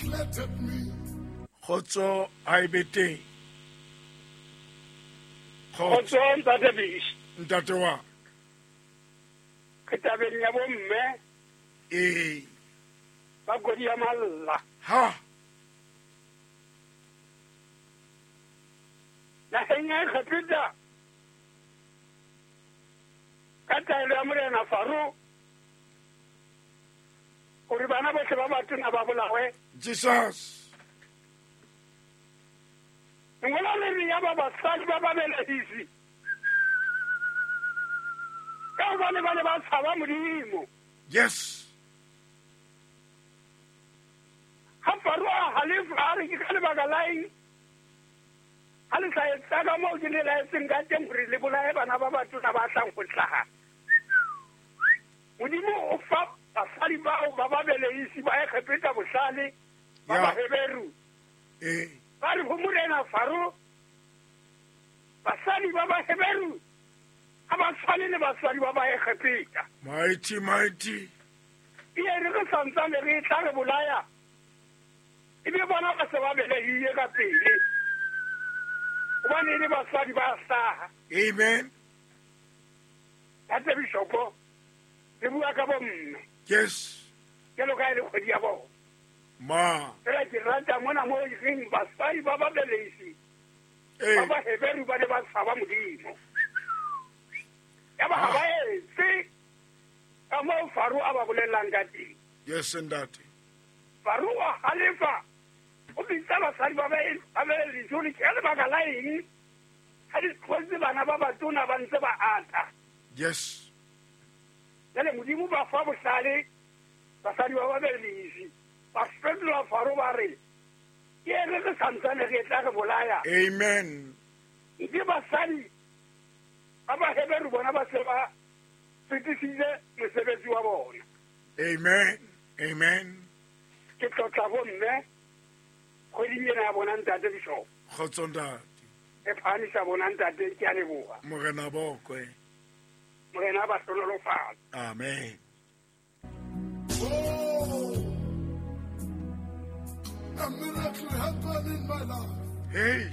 neglected me. Kgotso ha e be teng. Kgotso. Kgotso ntate Bish. Ntate wa. Ke tabeng ya bomme. Ee. Ba kodi ya malla. Ha. Naheng ya Egepeta ka taelo ya morena Faro gore bana botlhe ba batona ba bolawe. Jesus. Lengolo le re ya ba basadi ba babelehisi ka gobane ba ne ba tshaba Modimo. Yes. Ha Faro a halefa a re ke ka lebaka la eng ha le sa etsa ka moo ke le laetseng ka teng gore le bolaye bana ba batona ba tlang go hlaha. Modimo o fa basadi bao ba babelehisi ba Egepeta bohlale ba Baheberu. Ba re ho morena Faro, basadi ba Baheberu ha ba tshwane le basadi ba Baegepeta. Mighty, mighty. E re re santsane re tla re bolaya, ebe bona ba se ba belehile ka pele, gobane e le basadi ba hlaha. Amen. Ntate Bishopo, re bua ka bomme. Yes. Jalo ka e le kgwedi ya bona. Ma. Fela ke rata mona mo e reng basadi ba babelehisi ba Baheberu ba ne ba tshaba Modimo. Ya ba ha ba etse ka moo Faro a ba bolellang ka teng. Yes, ntate. Faro a halefa, o bitsa basadi ba babelehisi hore ke ka lebaka la eng ha di tlotse bana ba batona ba ntse ba ata. Yes. Jale Modimo ba fa bohlale basadi ba babelehisi, ba fetola Faro ba re ke re re santsane re tla re bolaya. Amen. Ke basadi ba Baheberu bona ba se ba fetisitse mosebetsi wa bona. Amen. Amen. Ke tlotla bomme kgweding ena ya bona ntate Bishop. Kgotso ntate. E phahamisa bona ntate, ke a leboha. Morena bokwe. Morena ba hlonolofatse. Amen. Oh, a miracle happened in my life. Hey.